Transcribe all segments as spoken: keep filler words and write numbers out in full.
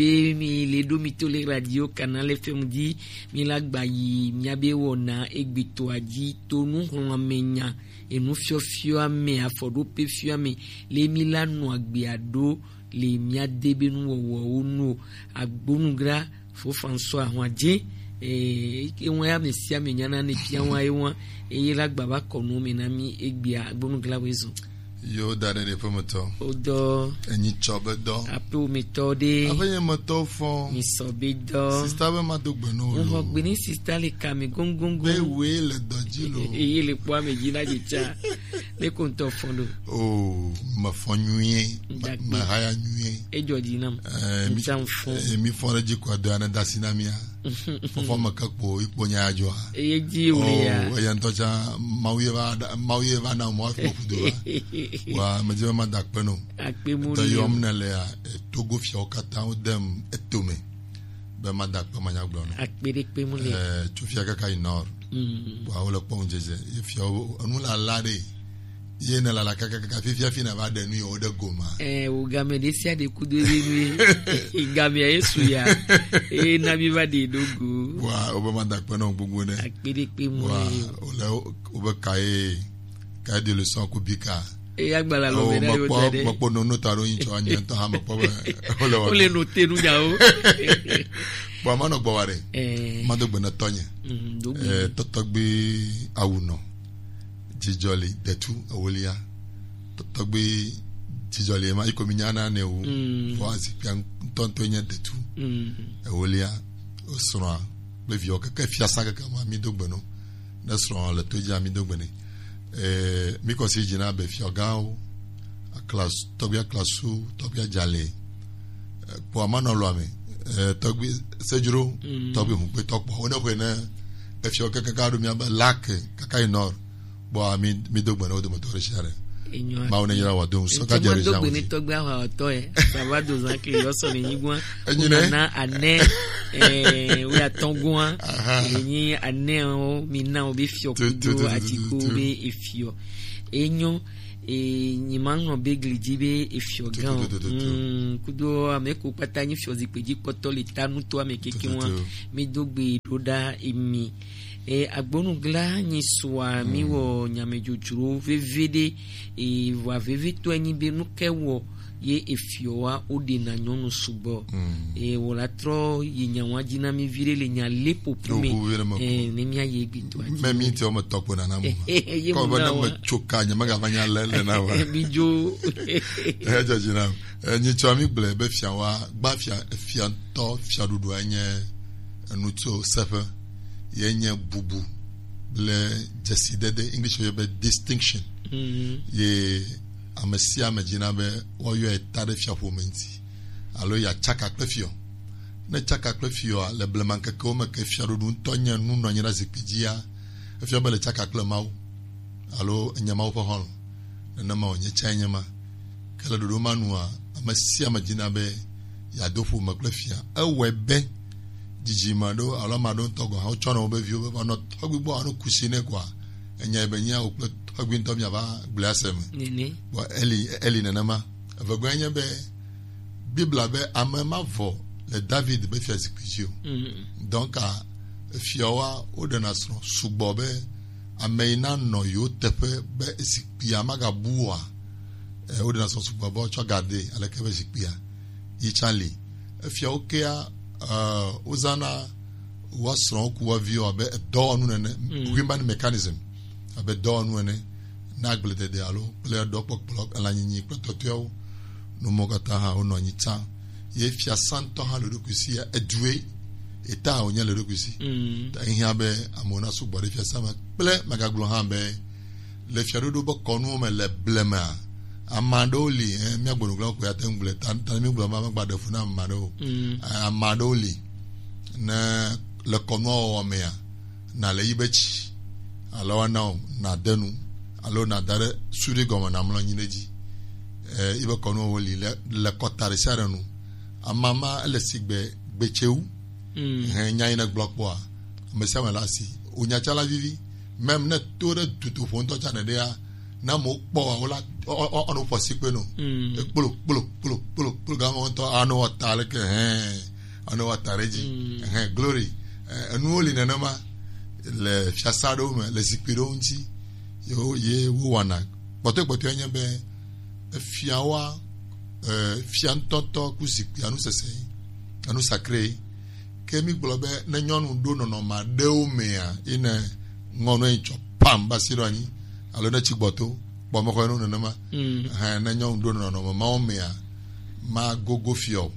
Be mi le ɖo mi to le radio Canal F M dzi, mi la gba yi mia be wɔna egbetɔa dzi to nuxlɔ̃ame nya, enu fiɔfiɔ ame, afɔɖope fiɔ ame, le mi la nɔ agbea ɖo le mia de be nuwɔwɔwo nu o. Agbonugra fo François Huadje, eh, ewa ya ame sia ame nyana ne fia wa ewa, eye la gba va kɔ nu me na mi egbea. Agbonugra wo ezo. Yo da ɖe ɖe ƒe metɔ. O dɔ. Enyi tsɔ be dɔ. Aƒe wo metɔ ɖe. Aƒe nye metɔ fɔ. Mi sɔ be dɔ. Sista be ma do gbe no lo. Ŋɔ gbe ni sista le ka me gongongo. Be we le dɔ dzi lo. E-, eye le kpɔ ame dzi na dze tsa. Ne ko ŋutɔ fɔ ɖo. O, me fɔ nyuie. Dagbe. Me haya nyuie. Edzɔ dzi nam. Eh, mi, Ŋutsa ŋfɔ. Eh, mi fɔ ɖe dzi ko adɔ ya ne dasi na mia. Fɔfɔ me ke kpo ikpo nya adzɔa. Eye dzi wòle ya. Oh, eya ŋutɔ tsã, Mawu ye va ɖa-, Mawu ye va na mɔ akpɔ kudo va. Wa, medzi be mada akpe no. Akpe mu. Dɔ yɔm ne le ya, eh, Togo fiawo katã wo dem etome. Be mada akpe manya gblɔ no. Akpe ɖe kpe mu le. Eh, tso fia kaka yi nord. Mm. Wa, wo le kpɔ ŋudzedze. Ye fiawo, enu la la ɖe. Ye ne lala kakakaka fifia fi na va ɖe nu yewo ɖe goma. Eh, wo game ɖe sia ɖe kudo ɖe nu ye. Gamea ye su ya. Eye na mi va ɖe ɖo go. Wa, wo be ma da akpe nɔ gbogbo ne. Akpe ɖe kpe mu. Wa, ye. Wo le wo, wo be ka ye, ka ye de leçon ku bi ka. Eye agbala lo Oh, me na yo mekpɔ, da ɖe. Mekpɔ no, no ta ɖo yin tsɔ anye ŋutɔ hã mekpɔ be, wo le wa. Wo le no te nu nyawo. Bon, ma nɔ gbɔ wa ɖe. Eh. Ma do gbe na tɔnye. Mm, do gbe. Eh, tɔtɔgbe awu nɔ. Dzidzɔli detu ewolia. Tɔ-, tɔgbi dzidzɔli ma iko mi nyana ne wu. Mm. Vɔ azikpia ŋutɔŋutɔ nye detu. Mm. Ewolia, osrɔ̃a kple viwo keke fiasa keke ma mi do gbe no. Ne srɔ̃ le to dzia mi do gbe ne. Eh, mi kɔ si dzina be fiɔgawo, aklas-, tɔgbi aklasu, tɔgbi adzale. Eh, kpɔ amanɔ lɔa me. Eh, tɔgbi sedzro, Mm. tɔgbi hunkpetɔ kpɔ. Wo ne xwe ne efiɔ keke ka ɖo mia be lake kaka yi nɔ. Kpɔa, mi, mi do gbe na wo dometɔ ɖe sia ɖe. Enyo. Mawu ne yra wa do ŋusɔ. Ŋutsu ka ma do gbe ne tɔgbe awa ɔtɔ ye. Sava do zan ke yɔ sɔ ne nyigua. Enyi ne? Na ane, eh, wi atɔgua. Aha. Enyi ane o, mi na o be fiɔ Tu, tu, kudo tu, tu, tu, atiko tu. Be efiɔ. Enyo, eh, nyi ma ŋlɔ be gli dzi be efiɔ Tu, gan tu, o. tu, tu, tu, tu. Mm, kudo ame ko kpata nyi fiɔ zikpe dzi kpɔtɔ le ta nuto ame keke Tu, tu, wa. tu. Mi do gbe ɖo ɖa emi. E, agbonu gla nyi sua, mi Mm. wɔ nyamedzodzro veve ɖe, e, vɔ veve tɔ enyi be nu ke wɔ ye efiɔ wa o ɖe na nyɔnu sugbɔ. Mm. E, wɔ la trɔ yi nya wa dzi na mi vi ɖe le nya le popo me. Ɖo ʋu vi ɖe me ko. E, ne mia ye gbe to ati. Me mi ti o me tɔkpo na na mo. Ye Kɔ mo be na ne wa. Me tso ka, nye me ga va nya le, le na wa. Mi dzo. E, dzɔ dzi na. E, nyi tsɔ mi gblɔe be fia wa, gba fia, fia ŋutɔ, fiaɖuɖua nye enu tso seƒe, ye nye bubu kple dzesidede, English yɔ be distinction. Mhm. Ye ame sia ame dzina be woayɔe ta ɖe fiaƒome ŋuti, alo yeatsaka kple fiɔ. Ne tsaka kple fiɔa, le blemaŋkekewo me ke fiaɖuɖu ŋutɔ nye nu nɔ anyi ɖe zikpui dzia, efia be le tsaka kple Mawu, alo enye Mawu ƒe xɔlɔ̃. Nenema wònye tsã nye ma. Ke le ɖoɖo ma nua, ame sia ame dina be yeado ƒome kple fia. Ewɔe be dzidzime aɖewo alo ame aɖewo ŋutɔ gɔ̃ hã wotsɔna wobe viwo be va nɔ tɔgbi gbɔ alo kusi nɛ koa, enya be nyea wò kple tɔgbi ŋutɔ miava gblɔe ase me. Nene. Bon, eli, eli nenema. Evegɔe nye be Biblia be ame ma vɔ le David be fiazikpui dzi o. Mhm. Donc, a, fiawoa, woɖena srɔ̃ sugbɔ be ame yi nanɔ yewo teƒe be zikpuia magabu oa, eh, woɖena srɔ̃ sugbɔ be woatsɔ garde aleke be zikpuia yi tsã li. Efiawo kea, eh, wozãna woa srɔ̃wo ku woa viwo abe edɔwɔnu nene, Mm. human mechanism, abe dɔwɔnu ene, na agbledede alo kple ɖɔkpɔkplɔ, elanyinyi kple tɔtɔewo. Nu mɔ katã hã wonɔ anyi tsã. Ye fiasã ŋutɔ hã le eɖokui si ya, edue, eta wònye le eɖokui si. Mm. Ta ehiã be amewo nasugbɔ ɖe fiasã me kple megagblɔ hã be le fiaɖoɖo be kɔnuwo me le blema, ame aɖewo li, eh, míagblɔ nu gblɔ ko ya te ŋu gblɔe, ta, ta ne mígblɔ ma, magba ɖe fu na ame aɖewo. Mm. Eh, ame aɖewo li, ne le kɔnua wɔwɔ mea, nale yi be tsi, alo woana wò nàde nu, alo nàda ɖe suɖi gɔme nàmlɔ anyi ɖe edzi. Eh, yi be kɔnuwo li le, le kɔta ɖe sia ɖe nu. Amama ele sigbe gbetsewu. Mm. Hɛn nya yi ne gblɔ kpɔa, ame sia ame le asi. Wò nya tsã la vivi. Même ne to ɖe dutoƒo ŋutɔ tsã nèɖea, ne amewo kpɔ wa, wola, ɔ ɔ ɔ ɔnu ƒɔ si kpe no. Mm. Kplo kplo kplo kplo kplo gama ŋutɔ anu wɔ ta leke hɛn anu wɔ ta ɖe dzi. Mm. Hɛn glory. Eh, enuwo li nenema le fiasa ɖewo me, le zikpui ɖewo ŋuti. Yewo ye wo wɔna kpɔtɔe kpɔtɔe nye be efiawoa, eh, fia ŋutɔŋutɔ ku zikpuia nu sese, enu sacré. Ke mi gblɔ be ne nyɔnu ɖo nɔnɔme aɖewo mea, yi ne ŋɔ nu yi tsɔ pam ba si ɖo anyi, alo ne tsi gbɔto kpɔ me xɔ nu nenema. Mm. Hɛn, ne nyɔnu ɖo nɔnɔme mawo mea, ma gogo fiɔ,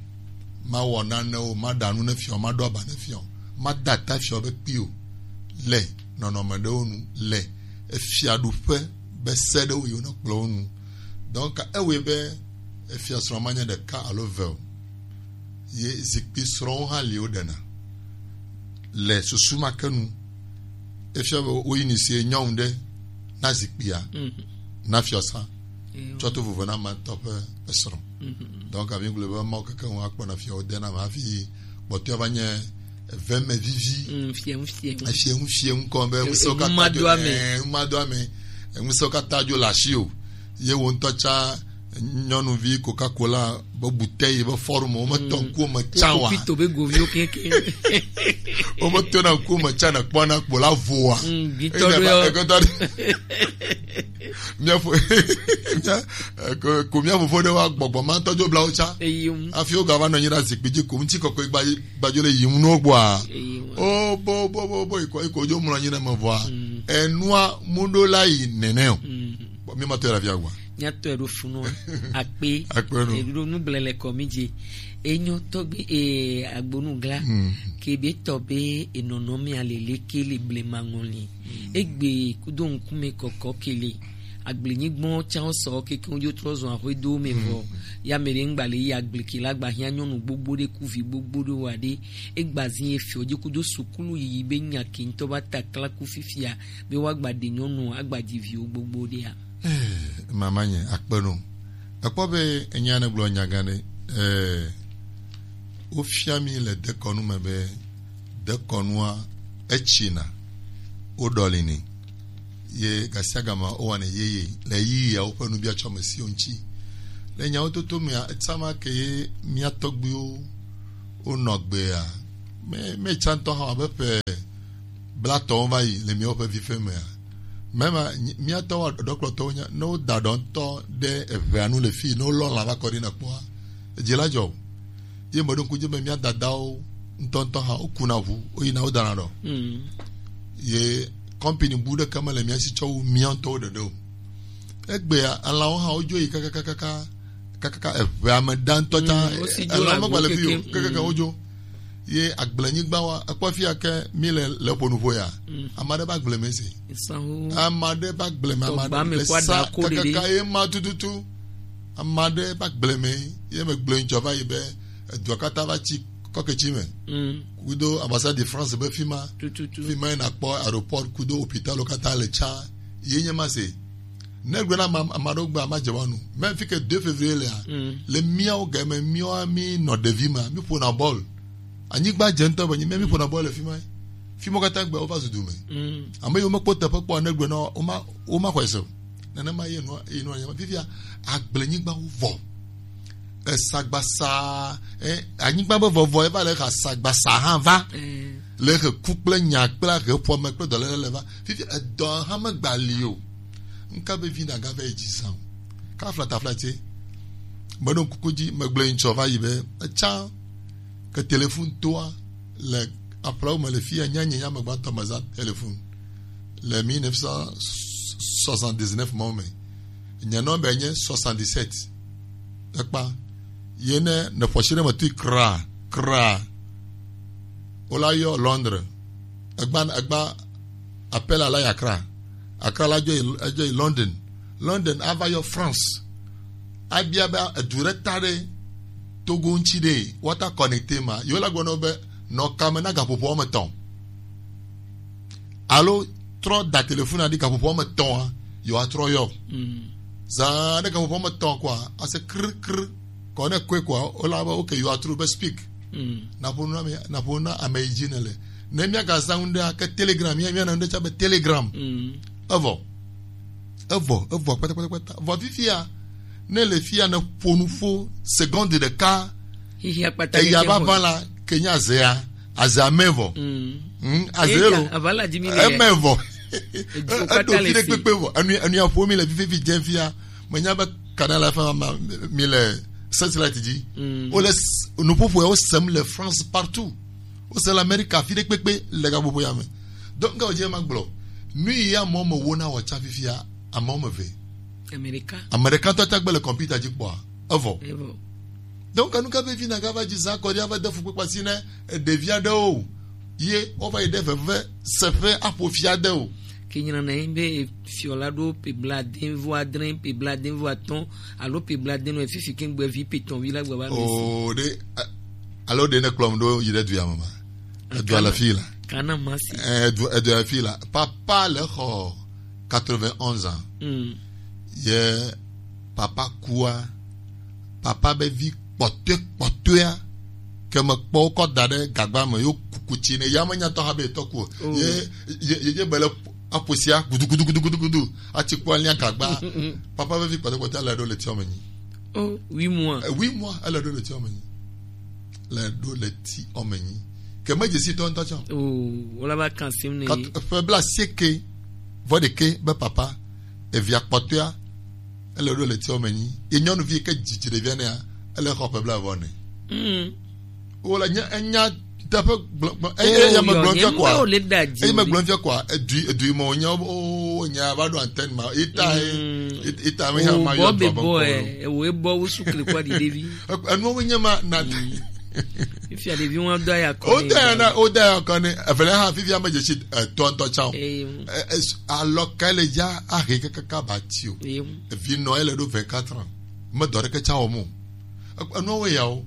ma wɔ nane o, ma ɖa nu ne fiɔ, ma ɖo aba ne fiɔ, ma da ta fiɔ be kpi o. Le nɔnɔme ɖewo nu, le efiaɖuƒe be se ɖewo yi wonɔ kplɔ wo nu. Donc ewɔe be efia srɔ̃ ma nye ɖeka alo eve o. Ye zikpui srɔ̃wo hã li woɖena le susu ma ke nu. Efia be woyi ni sie nyɔnu ɖe na zikpuia, mm, na fiɔsa. Eyo. Tsɔ to vovo na ma ŋutɔ ƒe esrɔ̃. Mhm. Donc, avi gblɔ be mawo keke ŋu akpɔ na fiawo de na ma hafi kpɔtɔe va nye eve me vivi. Mm, fiɛ ŋu, fiɛ ŋu. Efiɛ ŋu, fiɛ ŋu kɔ be ŋusẽwo katã dzo, eh, ŋu ma do ame. Ŋusẽwo katã dzo le asi o. Ye wo ŋutɔ tsa nyɔnuvi Coca-Cola be bouteille be forme, wo me tɔ ŋkuwo me tsa wa. Kopito be goviwo keke. Wo me tona ŋkuwo me tsa ne kpɔna kpo la voa. Mm, gbitɔ ɖe yɔ. Ekɔtɔ ɖe. Mia fo, mia, eh, ko, ko mia fofo ɖe wa gbɔgbɔ ma tɔdzo blawo tsa. Eyi ŋu. Afi wo gava nɔ anyi ɖe zikpui dzi ko ŋuti kɔkɔe gba, gbadzo le yi ŋu no gbɔa. Eyi ŋu. O bo bo bo bo iko iko dzo mlɔ anyi ɖe me vɔa. Mm. Enua mu ɖo la yi nene o. Mm. Bon, mi ma tɔ la via gba. Mia tɔ ɖo funu akpe. Akpe no. Eɖo nu gblẽ le kɔ mi dzi. Enyo tɔgbi e agbonu gla. Mm. Ke be tɔ be enɔnɔ mi alele ke le blema ŋɔli. Egbe kudo ŋkume kɔkɔ kele. Agblenyigba tsã sɔ keke wo dzo trɔ zɔn axwe do me vɔ. Ya me ɖe ŋgba le yi agble ke la gba hiã nyɔnu gbogbo ɖe ku vi gbogbo ɖe wa ɖe. Egba zi ye fiɔ dzi kudo sukulu yiyi be nya ke ŋutɔ ba takla ku fifia be wa gba ɖe nyɔnu agba dzi viwo gbogbo ɖea. Eh, mama nye akpe no. Ekpɔ be enya ne gblɔ nya gã ɖe. Eh, wofia mi le dekɔnu me be dekɔnua etsina, woɖɔlini. Ye gasiagama wowɔnɛ yeye le ɣeyiɣiawo ƒe nubiatsɔmesiwo ŋuti. Le nyawo toto mea, etsama ke ye mía tɔgbuiwo wonɔ gbea, me, me tsa ŋutɔ hã abe ƒe blatɔwo va yi le míawo ƒe vife mea. Mema, mía tɔwo ɖɔkplɔtɔwo nya, ne woda ɖɔ ŋutɔ ɖe eʋea nu le fii, ne wolɔ lã va kɔ ɖi na kpɔa, edzi la dzɔ o. Ye meɖo ŋku dzi be mía dadawo ŋutɔŋutɔ hã wokuna ʋu, woyina wodana ɖɔ. Mm. Ye kɔmpini bu ɖeke mele mía si tsɔ wu mía ŋutɔwo ɖeɖe o. Egbea, elãwo hã wodzo yi kakakakaka, kakaka eʋea me ɖa ŋutɔ tsã, mm, wosi dzo elãwo le megba le fi o, kekeke, mm, wodzo. Ye agblenyigba wa, ekpɔ fi ya ke mi le, le ƒo nu ƒo ya. Mm. Ame aɖe be agble me se. Ame aɖe be agble me, ame aɖe le sa kakaka ye ma tututu. Ame aɖe be agble me ye me gblɔe ŋtsɔ va yi be edua katã va tsi kɔketsi me. Mm. Kudo ambassade de France be fi ma. Tututu. Fi ma ye nakpɔ aéroport kudo hôpital wo katã le tsa. Ye nye ma se. Ne gblɔ na ame, ame aɖewo gbe, ame dze wa nu. Même fi ke deux février lea, mm, le míawo game, míawo mi nɔ ɖevi me, mi ƒona bɔl. Anyigba dze ŋutɔ be nyi, mɛ mi ƒona bɔl le fi ma. Fi ma katã gbe wova zu du me. Mm. Ame yiwo mekpɔ teƒe kpɔ ne gblɔ na wo, woma, woma xɔe se o. Nenema ye nua, ye nua, fifia, agblenyigba wo vɔ. Esagbasa, eh, anyigba be vɔvɔ eva le xa sagbasa hã va. Mm. Le xe ku kple nya kple ahe ƒome kple dɔléle le va. Fifia, edɔ hã megba li o. Nka be vi na ga va yi dzi sa o. Ka flata flate. Meɖo kuku dzi, megblɔe ŋtsɔ va yi be, etsa ke telefon toa le aƒlawo me le fi ya, nya nye nya me gbãtɔ me zã telefon le mille neuf cent soixante-dix-neuf mawo me. Nye nɔmba nye soixante-dix-sept. Ekpa. Ye ne ne ƒo asi ɖe me tui kra, kra. Wola yɔ Londres. Egba, egba appel la yi Accra. Accra la dzo yi, edzo yi London. London ava yɔ France. Abia be edu ɖe ta ɖe Togo ŋuti ɖe, woata connecté ma. Yewo la gblɔ na wo be, nɔ kame na gaƒoƒo wɔme etɔ̃. Alo trɔ da telefon na ɖi gaƒoƒo wɔme etɔ̃a, yewoatrɔ yɔ. Mm. Zã ɖe gaƒoƒo wɔme etɔ̃ koa, ase kr, kr. Kɔ ne koe koa, wola be, okay, you are through, be speak. Mm. Naƒo nu na ame, naƒo nu na ame yi dzi nèle. Ne míagazã ŋu ɖea, ke Telegram, mía, míana ŋɖe tsã be Telegram. Mm. Evɔ. Evɔ, evɔ kpata kpata kpata. Vɔ fifia, ne le fia ne ƒo nu fo seconde ɖeka, xixia kpata eya va va la, ke nya azea, azea me vɔ. Mm. Mm, aze lo. Ava la dzi mi le. Eme vɔ. Edzo kpata le fi. Eɖo fi ɖe kpekpe vɔ. Enu, enu ya ƒo mi le fifi fi dze fia. Menya be kana la fa ma, mi le satellite dzi. Mm. Wo le s-, nuƒoƒo ya wo sem le France partout. Wo se le Amerika fi ɖe kpekpe le gaƒoƒo ya me. Donc, nga wòdze ma gblɔ. Nu yi amewo me wona wɔ tsa fifia, amewo me ve. Amerika. Amerikatɔ tsa gbe le kɔmputa dzi kpɔa, evɔ. Evɔ. Donc, enu ka vevi na gava dzi zã kɔ ɖi ava de fukpekpe asi ne ɖevi aɖewo ye wova yi ɖe veve seƒe aƒo fi aɖewo. Ke nyina na yi be fiɔ la ɖo pe bladen vɔ adre, pe bladen vɔ atɔ̃, alo pe bladen nɔ fifi ke gbe vi pe tɔn vi la gbe va mi si. O ɖe, a-, alo ɖe ne kplɔm ɖo yi ɖe du ya me ma. Edu ale fi la. Kana masi. Eh, edu, edu ale fi la. Papa le xɔ quatre-vingt-onze ans. Mm. Ye papa kua, papa be vi kpɔtɔe kpɔtɔea, ke me kpɔ wokɔ da ɖe gagba me, yo kuku tsi ne ya me nya tɔ ha be etɔ ku o. Oh. Ye, ye, ye, ye be le aƒosia gudu, gudu, gudu, gudu, gudu. Atsi kpɔ alia gagba. Papa be vi kpɔtɔe kpɔtɔea le ɖo le tiɔ me nyi. Oh, huit mois. Eh, huit mois, ele ɖo le tiɔ me nyi. Le ɖo le tiɔ me nyi. Ke me dzesi tɔ ŋutɔ tsã. Oh, wala ba kan sim ne. Kat-, ƒe bla sieke, vɔ ɖeke be papa, evia kpɔtɔea, ele ɖo le tiɔ me nyi. Ye nyɔnuvi ke dzidzi ɖevia nea, ele xɔ ƒe bla vɔ ne. Mm. Wole nya, enya teƒe gblɔ, gblɔ, eye, eye me gblɔ fia kɔa. Eye me gblɔ fia kɔa, edu, edu me wonya, o, nya va ɖo antenne ma. Eta, eta me nya ma yɔ bɔ be bɔ, e, wo e bɔ wo su kle kɔa di ɖevi. Enu wo nya ma na. Fia ɖevi wo do ya kɔ. O da ya na, o da ya kɔ ne, evele ha fifia me dzesi, e, tɔntɔ tsã. Alɔ ka le ya ahe kaka ba ti o. Evi nɔ ele ɖo vingt-quatre ans. Me dɔ ɖeke tsã wɔm o. Enuawo yawo,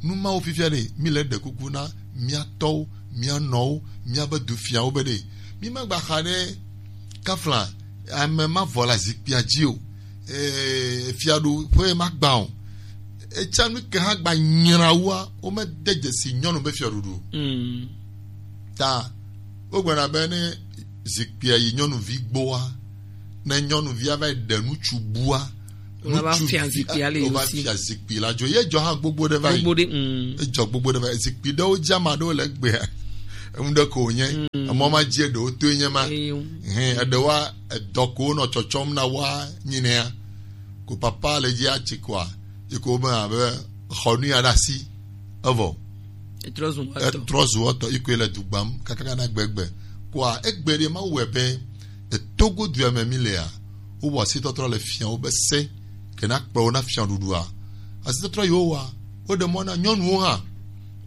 nu mawo fifia ɖe, mi le ɖe kuku na mia tɔwo, mia nɔwo, mia be du fiawo be ɖe. Mi ma gba xa ɖe kafla, ame ma vɔ la zikpia dzi o. Eh, fiaɖuƒe ma gba o. Etsã nu ke hã gba nyra wua, wo me de dzesi nyɔnu be fiaɖuɖu o. Mm. Ta, wo gblɔna be ne zikpia yi nyɔnuvi gbɔa, ne nyɔnuvia va yi ɖe ŋutsu bua, ŋutsu fia zikpui ale yo si. Fia zikpui la dzo. Ye dzɔ hã gbogbo ɖe va yi. Gbogbo ɖe, mm. Edzɔ gbogbo ɖe va yi. Zikpui ɖewo dze ame aɖewo le egbea. Enu ɖe ko wònye. Mm. Emɔ ma dzi eɖewo toe nye ma. Eyo. Hɛn, eɖewoa, edɔ ko wonɔ tsɔtsɔm na woa nyinɛa. Ko papa le dzi atsi koa, yi ko be abe xɔ nu ya ɖe asi. Evɔ. Etrɔ zu etɔ. Etrɔ zu etɔ, yi koe le du gbam, kakaka na gbegbe. Kɔa, egbe ɖe ma wɔe be, etogo dua me mi lea, wo wɔ asitɔtrɔ le fiawo be se, ke na kplɔ wo na fiaɖuɖua. Asitɔtrɔ yi wo wa, wo ɖe mɔ na nyɔnuwo hã.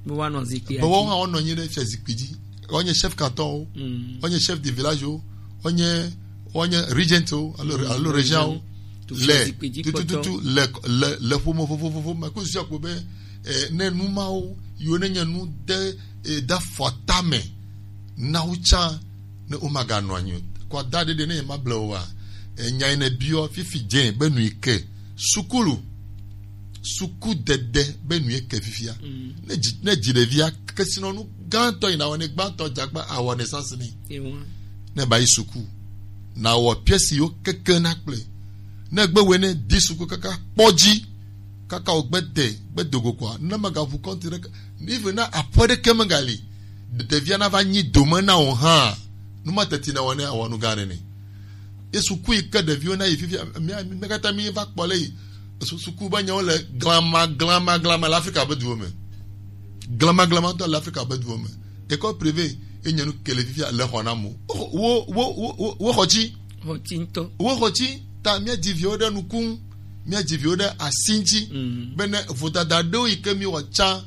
Be woanɔ zikpui dzi. Be wo hã wonɔ anyi ɖe fia zikpui dzi. Wonye chef canton wo, mm, wonye chef de village wo, wonye, wonye regent wo, alo, mm, alo régent wo. Le, tututu, le, le, le ƒome vovovovo me. Ko sia ko be, eh, ne nu mawo, yiwo ne nye nu de, eh, da fɔ tame na wo tsã, ne womaganɔ anyi o. Kɔ da ɖeɖe ne yemable o wa. Eh, nya yi ne biɔ fifi dze be nu yi ke. Sukulu. Sukudede be nu yi ke fifia. Mm. Ne dzi, ne dzi ɖevia, kesinɔnu gãtɔ yi na wɔ ne gbãtɔ dzagba awɔ ne sasini. Ewa. Ne ba yi suku. Na wɔ pièce yiwo keke na kple. Ne gbe wɛ ne di suku kaka kpɔ dzi. Kaka wo gbe de, gbe dogo kɔa, ne megaʋu kɔnti ɖeke, ni ve na aƒe ɖeke megali, ɖevia na va nyi dome na wò hã, nu ma teti na wɔ ne awɔ nu gã ɖe ne. Ye suku yi ke ɖeviwo na yi fifia, mía, mía katã mi va kpɔ le yi. Su-, suku be nyawo le glama, glama, glama le Afrika be duwo me. Glama, glama ŋutɔ le Afrika be duwo me. École privée, ye nye nu ke le fifia le xɔ na mo. Wo, wo, wo, wo, wo xɔ tsi. Xɔ tsi ŋutɔ. Wo xɔ tsi, ta mía dzi viwo ɖe nuku ŋu. Míadzi viwo ɖe asi ŋuti, mm, bene vodada ɖewo yi ke míwɔ tsã,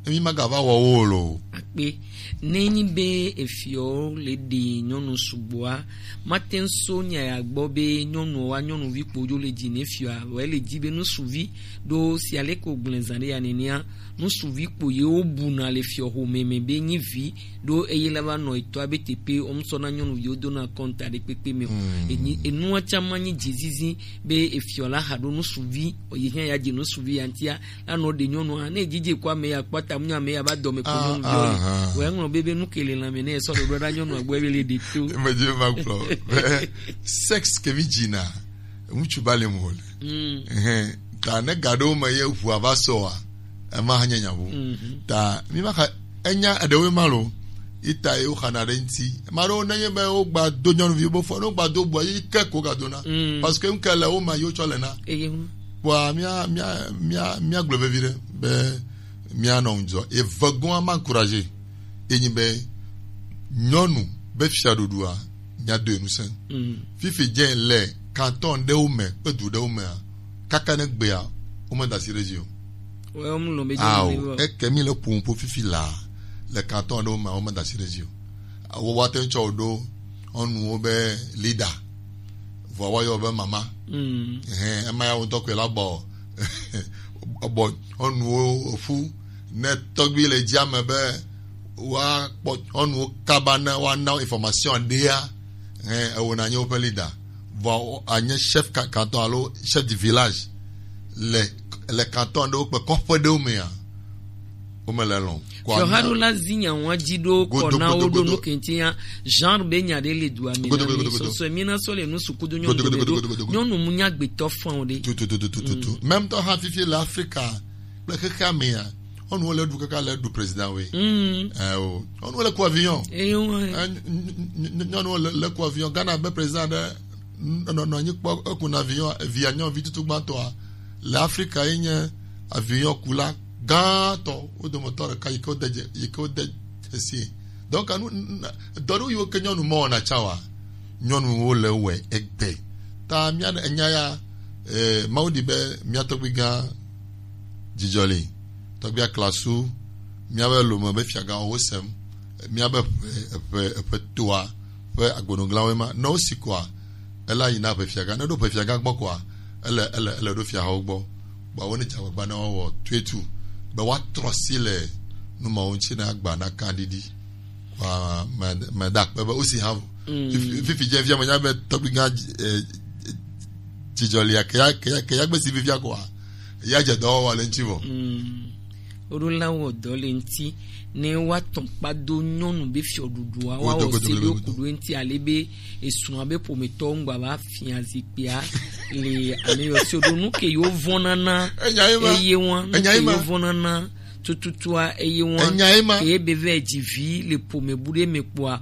emi magava wɔ wo o lo. Akpe. Ne nyi be efiɔ le ɖe nyɔnu sugbɔa, mate ŋu so nya ya gbɔ be nyɔnuɔ wa nyɔnuvi kpodzo le dzi ne fiɔa, vɔ ele dzi be nusuvi ɖo si ale ko gblẽ zã ɖe ya nenea, nusuvi kpo ye wo buna le fiɔ xome me be nyi vi ɖo eye la va nɔ etɔa be teƒe wo ŋsɔ na nyɔnuviwo dona kɔnta ɖe kpekpe me o. Mm. Enyi, enua tsã ma nyi dzizizi be efiɔ la xa ɖo nusuvi, o ye hã ya dze nusuvi ya ŋutia, la nɔ ɖe nyɔnua, ne edzidze ko ame ya kpɔ ta, mu nya ame ya va dɔme ko nyɔnuvi o. Ah. Wɔ eŋlɔ be be nu ke le lãme ne esɔ ɖoɖo ɖa nyɔnu agbɔ ebe le ɖi to. Eme dzi ma gblɔ be sex ke mi dzina, ŋutsu ba le mo le. Mm. Ehɛn, ta ne ga ɖewo me ye ʋua va sɔa, ema hã nye nya ʋu. Mhm. Ta mi ma xa enya eɖewoe ma lo. Ita ye woxana ɖe ŋuti. Ame aɖewo nenye be wogba do nyɔnuvi bo fɔ, ne wogba do bua yi ke ko ga dona. Mm. Parce que ŋke le wo ma yi wotsɔ le na. Eye ŋu. Kpɔa mía mía mía mía gblɔ vevi ɖe be mía nɔ ŋudzɔ. Eve goa ma encourager. Enyi be nyɔnu be fiaɖuɖua mía do enu se. Mm. Fifi dze le canton ɖewo me kpe du ɖewo mea, kaka ne gbea, wome da asi ɖe edzi o. Ao, eke mi le ƒoƒo fifi la, le canton ɖewo mea, wome da asi ɖe edzi o. Wo wa te ŋu tsɔ wo ɖo nyɔnuwo be leader. Vɔa woayɔ be mama. Mm. Ehɛn, ema ya ŋutɔ koe la bɔ, bɔ nyɔnuwo ƒu. Ne tɔgbi le dzia me be woakpɔ nyɔnuwo kaba ne woana wo information ɖea, ehɛn, ewɔna nye woƒe leader. Vɔa wo-, anye chef ca-, canton alo chef du village le, le canton ɖewo kple kɔƒe ɖewo mea, wome le lɔ̃. Fiɔhaɖola zi nya ŋua dzi ɖo kɔ na wo ɖo nu kenti ya, genre be nya ɖe le dua me na mi. Sɔsɔe mi na sɔ le nu sukudu nyɔnu ɖe ɖo. Nyɔnu mu nya gbetɔ fɔn o ɖe. Tutututututu. Même tɔ hã fifi le Afrika kple xexea mea, nyɔnuwo le ɖu kaka le ɖu président we. Mm. Eh, o. Nyɔnuwo le ku avion. Eh, o, eh. Eh, ny-, ny-, ny-, nyɔnuwo le, le ku avion. Ghana be président ɖe n-, nɔ, nɔ anyi kpɔ, eku na avion, via nyɔnuvi tutu gbãtɔa. Le Afrika ye nye avion kula gãtɔ, wo dometɔ ɖeka yi ke wode dze-, yi ke wode dzesi. Donc, anu, n-, n-, dɔ ɖewo yiwo ke nyɔnu mewɔna tsa wa, nyɔnuwo le wɔe egbe. Ta mía enya ya, eh, Mawu di be mía tɔgbi gã Dzidzɔ li, tɔgbi Aklasu, míabe lome be fiagãwo sem, míabe ƒe, ƒe, ƒe toa ƒe agbonuglawoe ma. Ne wosi koa, ele ayi na ƒe fiagã. Ne ɖo ƒe fiagã gbɔ koa, ele, ele, ele ɖo fiahawo gbɔ. Kpɔa wo ne dze agbagba ne woawɔ tuetu be woatrɔ si le nu mawo ŋuti ne agba naka ɖiɖi. Kpɔa me, meda akpe be wosi hã. Mm. Fifi, fifi dze fia menya be tɔgbi gã, eh, Dzidzɔ lia, ke ya, ke ya, ke ya gbe si fifia koa, ya dze dɔwɔwɔ le ŋuti vɔ. Mm. Woɖo la wɔ dɔ le ŋuti ne woatɔ kpa do nyɔnu be fiɔɖuɖua, woawɔ se ɖo ku ɖo ŋuti ale be esrɔ̃a be ƒometɔwo ŋgba va fia zikpuia le ame yɔ si ɖo nu ke yewo vɔna na. Enya ye ma. Eye wa, nu ke yewo vɔna na tututua, eye wa. Enya ye ma. Ke be vɛ dzi vi le ƒome bu ɖe me kpɔa,